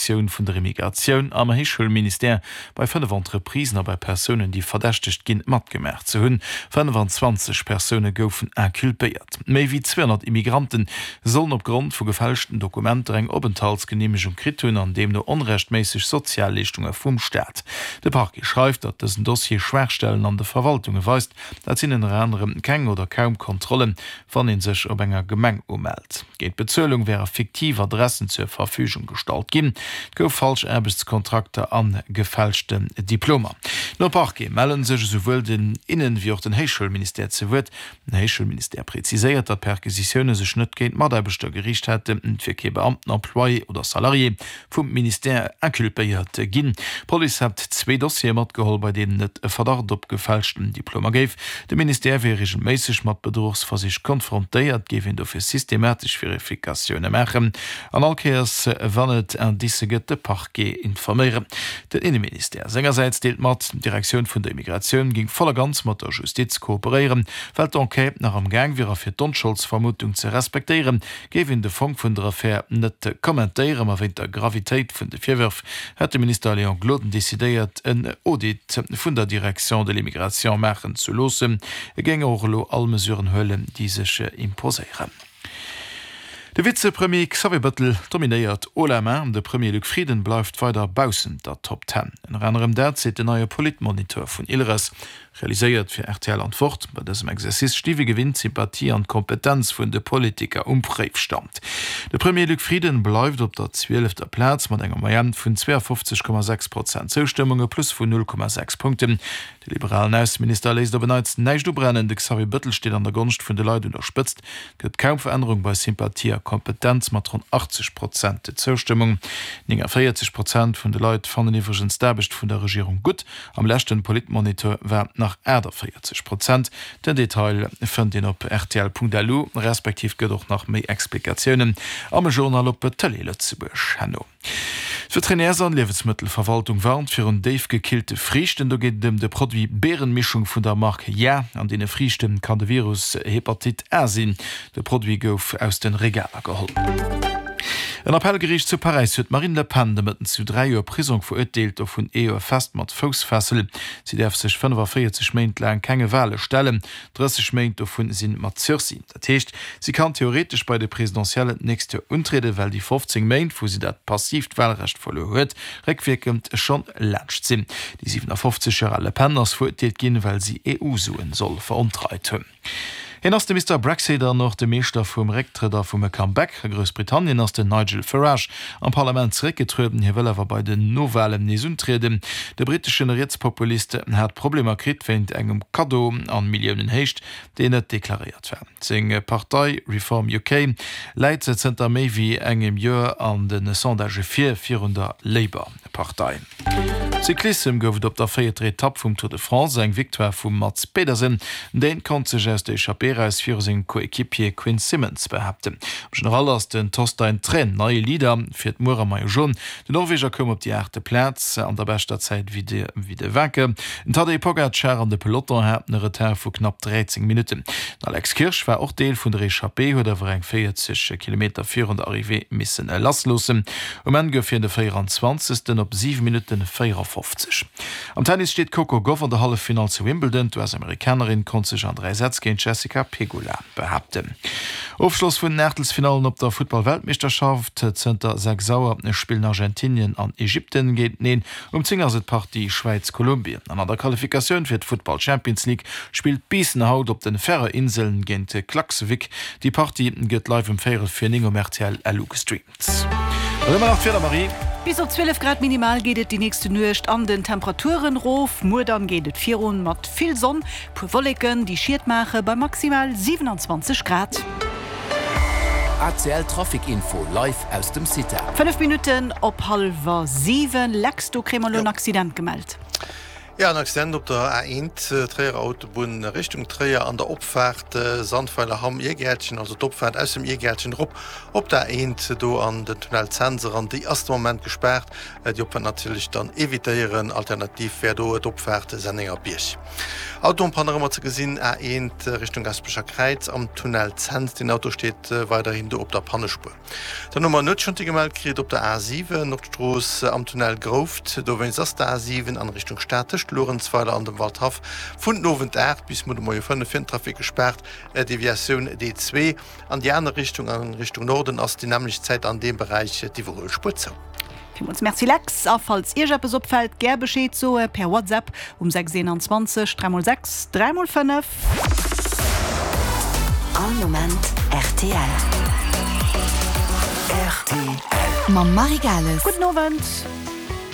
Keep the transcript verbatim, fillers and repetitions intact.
Direktioun vun der Immigratioun am Héichschoulministère bei fënnef Entreprisen a bei Persounen, déi verdächtegt ginn, matgemaach ze hunn. fënnfanzwanzeg Persoune goufen inculpéiert. Méi wéi zweehonnert Immigranten sollen opgrond vu gefälschten Dokumenter eng Openthaltsgeneemegung kritt hunn an deemno onrechtméisseg Sozialleeschtunge vum Staat. De Parquet schreift, datt dësen Dossier Schwaachstellen an de Verwaltunge weist. Dat sinn ënner anerem keng oder kaum Kontrollen, wann ee sech op enger Gemeng umellt. Géint Bezuelung wäre fiktiv Adressen zur Verfügung gestallt ginn. Et gouf falsch Aarbechtskontrakter a gefälschten Diplomer. Nom Parquet melle sech esouwuel den Innen wéi och den Héichschoulministère zu Wuert. Den Héichschoulministère präziséiert, datt d'Perquisitioune sech net géint Mataarbechter geriicht hätten, et wier kee Beamten, Employé oder Salarié vum Ministère inculpéiert ginn. D'Police hätt zwee Dossiere matgeholl, bei deenen et e Verdacht op gefälschten Diplomer géif. De Ministère wier reegelméisseg mat Bedruchsversich konfrontéiert, géif een dofir systematesch Verifikatioune maachen an all Kéiers wann et Indicë gëtt, de Parquet informéieren. Den Inneministère sengersäits deelt mat, d'Direktioun vun der Immigratioun géing voll a ganz mat der Justiz kooperéieren. Well d'Enquête nach am Gaang wier a fir d'Onscholdsvermutung ze respektéieren, géif een de Fong vun der Affär net kommentéieren. Ma wéint der Gravitéit vun de Virwërf hätt de Minister Léon Gloden decidéiert, en Audit vun der Direction de l'immigration maachen ze loossen. E géing och elo all Mesuren huelen, déi sech imposéieren. De Vizepremier Xavier Bettel dominéiert haut la main, de Premier Luc Frieden bleift weider baussent der Top Ten. Ënner anerem dat seet den neie Politmoniteur vun Ilres, realiséiert fir R T L an d'Wort. Bei dësem Exercice sti wéi gewinnt d'Sympathie an d'Kompetenz vun de Politiker um Préifstand. De Premier Luc Frieden bleift op der zwielefter Plaz mat enger Moyenne vun zweeafofzeg Komma sechs Prozent Zoustëmmung, e Plus vun null Komma sechs Punkten. De liberalen Ausseminister léisst op en Neits näischt ubrennen, de Xavier Bettel steet an der Gonscht vun de Leit un der Spëtzt. Et gëtt kaum Verännerung bei Sympathie a Kompetenz mat ronn achtzeg Prozent Zoustëmmung. Nénganvéierzeg Prozent vun de Leit fannen iwwregens d'Aarbecht vun der Regierung gutt, am leschten Politmoniteur war et nach aachtavéierzeg Prozent. Den Detail fënnt een op rtl Punkt L U, respektiv gëtt och nach méi Explikatiounen am Journal op Tëlee Lëtzebuerg herno. D'Veterinärs an Liewensmëttelverwaltung warnt virun déifgekillte Friichten. Do geet et ëm de Produit Beerenmischung vun der Mark Ja. An deene Friichten kann de Virus Hepatite A sinn. De Produit gouf aus de Regaler geholl. En Appellgeriicht zu Paräis huet d'Marine Le Pen de Mëtten zu dräi Joer Prisong verurteelt, dovun ee Joer fest mat Foussfessel. Si däerf sech fënnefavéierzeg Méint laang kenge Wale stellen, drësseg Méint dovun si mat Sursis. Dat heescht, si kann theoretesch bei de Presidentiellen d'nächst Joer untrieden, well déi fofzéng Méint, wou si dat passiivt Walrecht verluer huet, réckwierkend schonn laanscht sinn. Déi siwenafofzeg Joer al Le Pen ass verurteelt ginn, well si E U-Suen soll verontreit hunn. Hien ass de Mister Brexit an och de Meeschter vum Récktrëtt a vum Comeback. A Groussbritannien ass den Nigel Farage am Parlament zeréckgetrueden, hie wëll awer bei den Nowalen nees untrieden. De britteschen Rietspopulist hat Problemer kritt wéint engem Kaddo an Milliounenhéicht, deen net deklaréiert war. Seng Partei Reform U K läit zënter méi wéi engem Joer an de Sondagë vir, virun der Labour Partei. Cyclissem gouf et op der véierter Etapp vum Tour de France eng Victoire vum Mads Pedersen. Deen konnt sech aus der Echappée eraus viru sengem Coéquipier Quinn Simmons behaapten. Am General ass den Torstein Træen neie Leader, fiert muer am Maillot Jaune. Den Norweger koum op déi aachte Plaz an der beschter Zäit wéi de wéi de Vinke. Den Tadej Pogacar an de Peloton haten e Retard vu knapp dräizéng Minutten. Den Alex Kirsch war och Deel vun der Echappée, huet awer eng véierzeg Kilometer virun der Arrivée missen lassloossen. Um Enn gouf hien de véieranzwanzegsten op siwe Minutten véierafofzeg. Am Tennis steet d'Coco Gauff an der Halleffinall zu Wimbledon. D'U S-Amerikanerin konnt sech an dräi Sätz géint d'Jessica Pegula behaapten. Ofschloss vun den Aachtelsfinallen op der Futtball-Weltmeeschterschaft. Zënter sechs Auer spillen Argentinien an Ägypten géinteneen. Um zéng ass et d'Partie Schwäiz-Kolumbien. An an der Qualifikatioun fir d'Futtball-Champions League spillt Biissen haut op de Färöer Inseln géint Klaksvik. Déi Partie gëtt live um véierel vir néng um R T L L U gestreamt. An ëmmer nach d'Wieder, Marie. Bis op zwielef Grad minimal geet et déi nächste Nuecht an den Temperaturen rof. Muer dann geet et virun mat vill Sonn, puer Wolleken, déi Schiet maache bei maximal siwenanzwanzeg Grad. A C L Trafic Info live aus dem CITA. Fënnef Minutten op hallwer siwen. Lex, do kréie mer elo en Accident gemellt. Ja en Accident op der A eent, Tréierer Autobunn Richtung Tréier an der Opfaart Sandweiler Hamm Irgäertchen, also d'Opfaart aus dem Irgäertchen erop op der A eent do an den Tunnel Cents eran, déi ass de Moment gespaart. Déi Opfaart natierlech dann evitéieren, alternativ wär do d'Opfaart Sennengerbierg. Auto en panne nach ëmmer ze gesinn, A eent Richtung Gasperecher Kräiz am Tunnel Cents, deen Auto steet weiderhin do op der Pannespuer. Dann hu mer en Nuetschantier gemellt kritt op der A siwen, Nordstrooss am Tunnel Grouft. Dowéinst ass d'A siwen an Richtung Stad tëscht Luerenzweiler an dem Waldhaff vun den Owend aacht bis muer de Moie fënnef fir den Trafic gespaart. Deviatioun D zwee an déi aner Richtung, a Richtung Norden, ass déi nämmlecht Zäit an deem Beräich d'Iwwerhuelspuer zou. Villmools Merci Lex, a falls Iech eppes opfält, gär Bescheed soe per WhatsApp um sechs eenanzwanzeg dräi mol sechs dräi mol fënnef. All Moment rtl. Rtl. Mam Marie Gales. Gudden Owend.